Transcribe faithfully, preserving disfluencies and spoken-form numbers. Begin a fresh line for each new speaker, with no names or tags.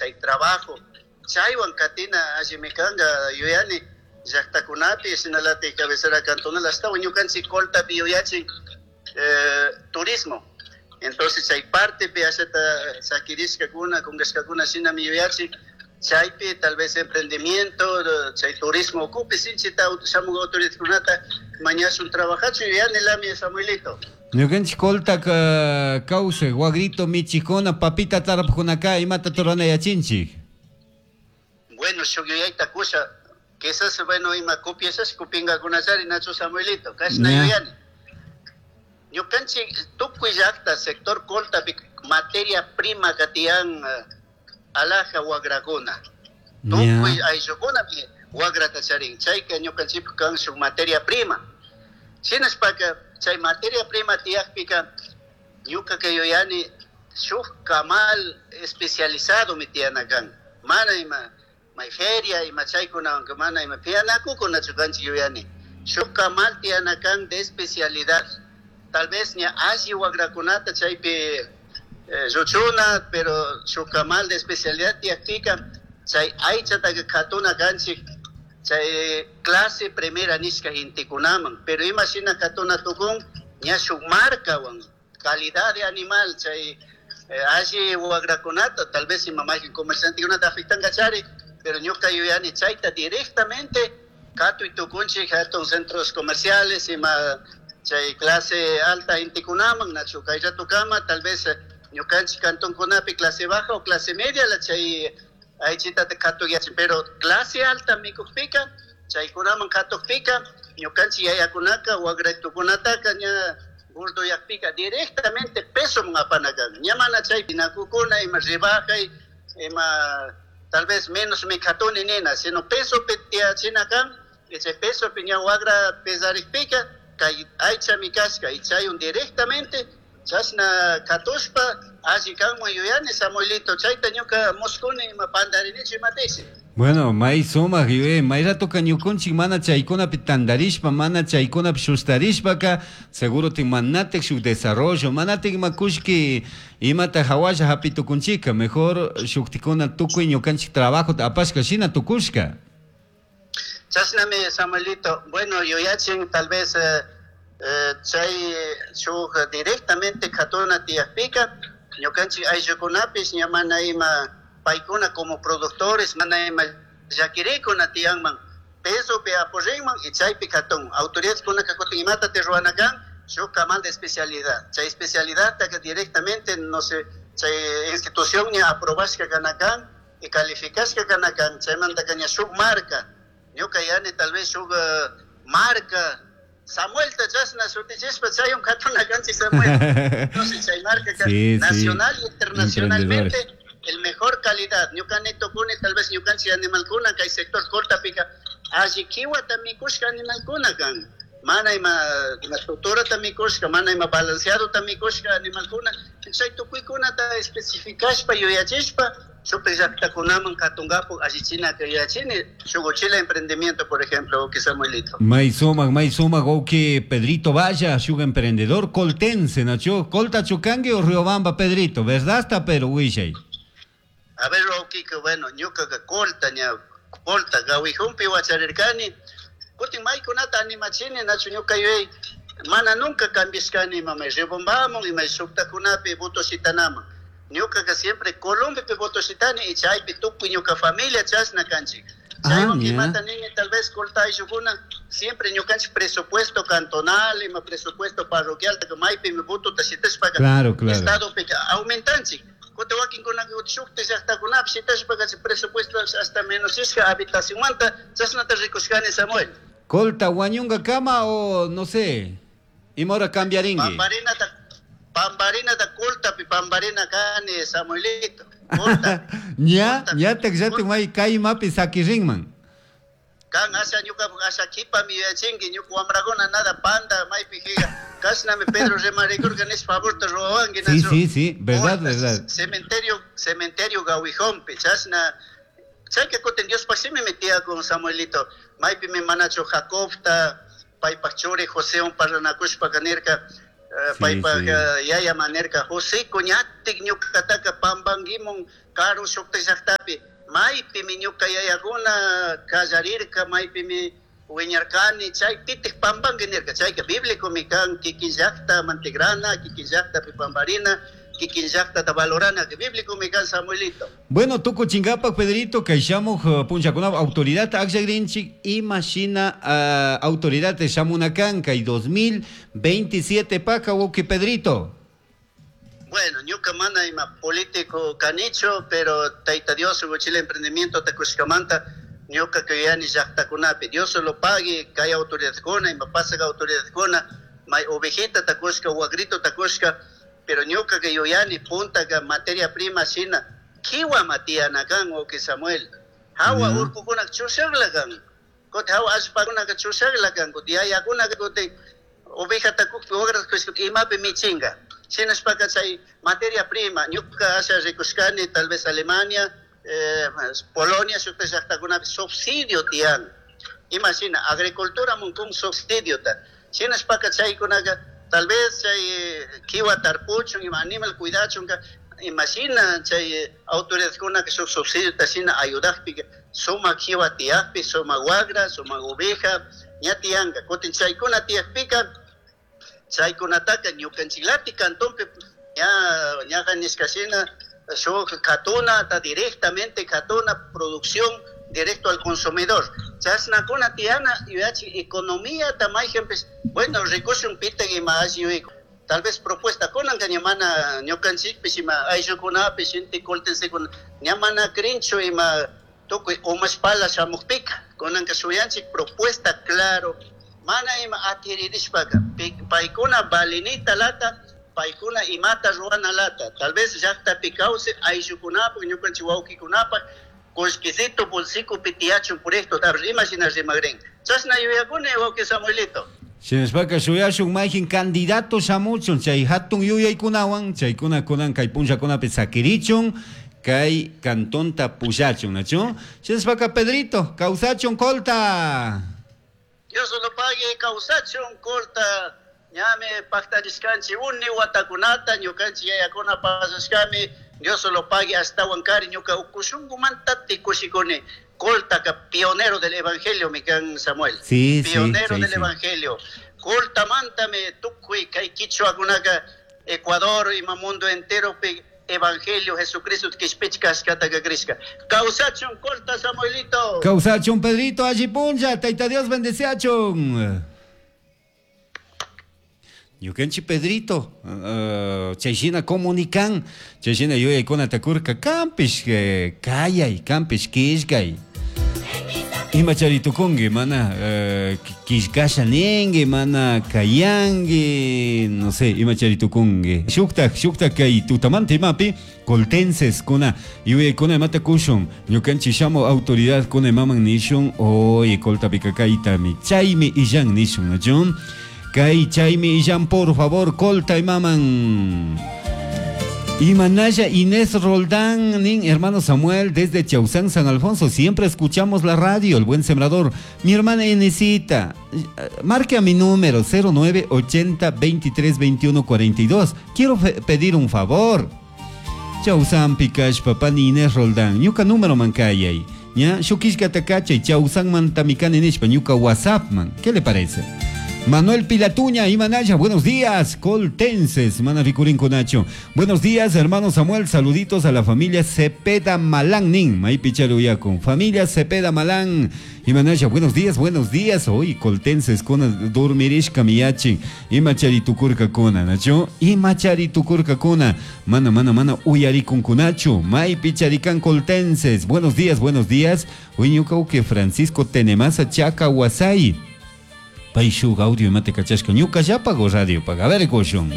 chay trabajo chaywan katina allimi kanka yuyani llaqtakunapi shinalatik cabecera cantonal ashtawan ñukanchik Coltapi yuyachin eh, turismo. Entonces chay partepi ashata sakirishkakuna kunkashkakuna shinami yuyachin chaypi tal vez emprendimiento chay turismo ukupi sinchita shamuk autoridadkunata mañashun trabajachun yuyanilami, Samuelito.
Ñukanchik Colta kawsay wagrito michikuna papita tarpujkunaka imata rurana yachinchik.
Bueno, shuk yuyayta kusha, quizás, bueno, ima copiashash kupinkakunachari, nachu, Samuelito? Kashna yuyani: ñukanchik tukuy llakta sector Coltapi materia prima katiyan alaja wagrakuna, tukuy ayllukunami wagrata charin. Chayka ñukanchikpak kan shuk materia prima. Shinashpaka chay materia prima tiyakpika ñukaka yuyani shuk kamal especializado mi tiyana kan. Mana ima may feria ima chaykunawanka mana ima pianakukunachu kanchik. Yuyani shuk kamal tiyana kan de especialidad, tal vez ña alli wagrakunata chaypi eh, lluchuna, pero shuk kamal de especialidad tiyakpika chay aychataka katuna kanchik chay clase primera nishka gentekunaman. Pero ima shina katuna tukun ña shuk marcawan calidad de animal chay eh, alli wagrakunata, tal vez ima mayqin comerciantekunata afectankachari, pero ñuka yuyani chayta directamente katuy tukunchik hatun centros comerciales ima chay clase alta gentekunaman, nachu? Kay ratukama tal vez ñukanchik cantonkunapi clase baja o clase media la chay aychitata katuyachin, pero clase alta mikukpika chaykunaman katukpika ñukanchik yayakunaka wagraytukunataka ña gorduyakpika directamente pesoman apana kan. Ña mana chaypi nakukuna ima rebajay ima tal vez menos mi katuni nina, sino pesopi tiyachina kan. Chay pesopi ña wagra pesarikpika kay aychami kashka y chaywan directamente chashna katushpa alli kanman yuyani, Samuelito. Chayta ñuka muskuni. Ima pandarinichu imatisi?
Bueno, may sumak yuyay. May ratoka ñukunchik mana chaykunapi tandarishpa, mana chaykunapi shustarishpaka seguro tik manatik shuk desarrollo, manatik ima kullki imata hawalla hapi tukunchika. Mejor shuktikuna tukuy ñukanchik trabajota apashka shina tukushka.
Chashnami, Samuelito. Bueno, yuyachin tal vez eh, eh, chay shuk directamente katuna tiyakpika ñukanchik ayllukunapish ña mana ima paykuna como productores mana ima llakirikuna tiyanman, pesopi apoyinman y chaypi katun. Autoridades kutin imata te ruwana kan shuk kamal de especialidad, chay especialidad que directamente, no sé, chay institución ña aprobashka kana kan y calificashka kana kan. Chaymantaka ña shuk marca, ñuka yani tal vez shuk uh, marca Samuel ta chashna shutichishpa chaywan katuna kanchik, Samuel. Entonces chay marca
Sí,
nacional
sí.
y internacionalmente el mejor calidad. Ñuka ni tukuni tal vez ñukanchik animalkuna kay sector Coltapika alli kiwata mikushka animalkuna kan, mana ima ima estructurata mikushka, mana ima balanceadota mikushka animalkuna. Chay tukuykunata especificashpa yuyachishpa shukta llaktakunaman katunkapu allichina yuyachini shuk uchila emprendimiento, por ejemplo, que Samuelito.
May sumak, may sumak, wawki Pedrito Valla, shuk emprendedor coltense, nachu? Colta chukangi o Riobamba, Pedrito, ¿verdad está? Pero wishay.
A ver, wawkika, bueno, ñukaka Colta ña Colta Gawijunpi wacharirkani. Kutin maykunata animachini, nachu? Ñuka yuyay mana nunca cambiashkani ima may Riobambaman ima shuktakunapi voto shitanaman. Ñukaka siempre Colombiapi voto shitani y chaypi tukuy ñuka familia chashna kanchik.
Ah,
chaywan
ña.
Imata nini tal vez Colta ayllukuna siempre ñukanchik presupuesto cantonal ima presupuesto parroquial maypimi votota shitashpaka
Claro, claro.
estadopika aumentanchik. Kutin wakinkunaka shukta llaktakunapi shitashpaka presupuesto hasta menos ishka habitacionmanta. Chashnata rikushkani, Samuel.
Colta wañunga kama o no sé, ima hora cambiaringui.
Pambarinata pambarinata Coltapi pambarina kani, Samuelito. Colta.
Ña,
Coltapi.
ñatak llatik may kaymapi sakirinman.
Kan asha ñuka asha kipami yuyachinki ñuka wamrakuna nada panda maypi jiga kashnami Pedro rimarikurka nish favorta ruwawanki,
Sí,
nachu?
sí, sí, verdad,
Colta,
verdad.
Cementerio cementerio Gawijompi chashna chayka kutin Diospaq shimimi tiyakun, Samuelito, maypimi manachu Jacobta paypaq churi Josewan parlanakushpaka nirka Paypaq yaya manirka José ñatik ñuqataka pampankimun karu shukta llaqtapi maypimi ñuqa yayakuna qallarirka maypimi wiñarkani chaypitik pampanki nirka chayka bíblicomi kan kikin llaqta mantigrana kikin llaqtapi pamparina kikin llaqtata valorana bíblicomi kan Samuelito.
Bueno, tukuchinkapak Pedrito kay shamuq punchakunap autoridad akllakrinchik imashina uh, autoridad shamuna kan kay dos mil veintisiete paka wawqi Pedrito.
Bueno, ñuka mana ima político kanichu, pero Tayta Dios Chile emprendimiento takushkamanta ñuka kuyani llaqtakunapi Dios lo pague kay autoridadkuna ima pasaq autoridadkuna may ovejita takushka wagrito takushka pero ñuka que yuyani puntaka materia prima shina kiwa matiyana kan wawqi Samuel hawa mm. urkukuna chushaqla kan kuti hawa allpakuna chushaqla kan kuti yayakuna kuti oveja takukpi wagra takushka imapi michinga shinashpaka chay materia prima ñuka asha rikushkani tal vez Alemania eh, Polonia shukta llaqtakunapi subsidio tiyan ima shina agricultura munkun subsidio ta shinashpaka chaykunaka tal vez chay kiwa tarpuchun ima animal cuidachunka imashina chay autoridadkunaka shuk subsidio ta shina ayudaqpi sumaq kiwa tiyaqpi sumaq wagra sumaq oveja ña tiyanka kutin chaykuna tiyaqpika chaykunataka ñukanchiklapi cantonpi ña ñaqa nishkashina shuk katuna ta directamente katuna producción directo al consumidor chashnakuna tiyana yuyachi economía ta mayjanpish bueno rikushun pitak ima alli yuyayku tal vez propuesta kunanka ña mana ñukanchikpish ima ayllukunapish inti coltensekuna ña mana crinchu ima tukuy umashpala shamuqpika kunanka shuyanchik propuesta claro mana ima atiririshpaka paykuna valinita lata paykuna imata ruwana lata tal vez llaqtapi kawsay ayllukunapaq ñukanchik wawqikunapaq kullkisito bolsikupi tiyachun puriqto ima shina rimaqrin chashna yuyakuni wawqi Samuelito.
Shinashpaka shuyashun mayjin candidato shamuchun chay hatun yuyaykunawan chaykuna kunan kay punllakunapi sakirichun kay cantonta pullachun nachu shinashpaka Pedrito kawsachun Colta.
Dios lo pague kawsachun Colta ñami paqtarishkanchik uni watakunata ñukanchik yayakuna pasashkami Dios lo pague ashtawan kari ñuka ukushunkumanta tikushikuni Colta pionero del evangelio mi kan Samuel.
Sí,
pionero
sí,
del
sí,
evangelio. Colta mantame tukuy kay kichwakunaka Ecuador ima mundo entero pi evangelio Jesucristo kishpichkashkataka krishka. Kawsachun Colta Samuelito.
Kawsachun Pedrito alli punlla Tayta Dios bendeciachun. Ñukanchik Pedrito, uh, chayshina comunican, chayshina yuyaykuna takurka kampish kayay, kampish killkay. Ima charitukunki, mana uh, killkasha ninki, mana kayanki, no sé, ima charitukunki. Shuktak, shuktak kay tutamanta imapi, coltenses kuna, yuyaykuna imata kushun, ñukanchik shamu autoridad kuna imaman nishun, oye, coltapika kaytami, chaymi illan nishun, ¿no? Kay chaymi illan, por favor, Colta imaman. Imanaya Inés Roldán, nin, hermano Samuel, desde Chausán, San Alfonso, siempre escuchamos la radio, El Buen Sembrador. Mi hermana Inesita, marque a mi número cero nueve ochenta veintitrés veintiuno cuarenta y dos. Quiero pedir un favor. Chausán Pikash, papá ni Inés Roldán, ñuka número mancayay. ¿Ya? Shukishka takachay, Chausán mantamikani nishpa, ñuka WhatsApp man. ¿Qué le parece? Manuel Pilatuña, Imanaya, buenos días, coltenses, mana ricurín conacho. Buenos días, hermano Samuel, saluditos a la familia Cepeda Malán, nin, maipicharuyaco. Familia Cepeda Malán, Imanaya, buenos días, buenos días. Hoy, coltenses, con dormirishka miyachi, imacharitukurka kona, nacho, imacharitukurka kona, mana, mana, mana, uyarikun kunacho, maipicharicán coltenses, buenos días, buenos días. Hoy, ñuka Francisco Tenemasa Chaca Huasay. Paishu audio mate kachashka ñuka llapago radio paga. A ver, goshun.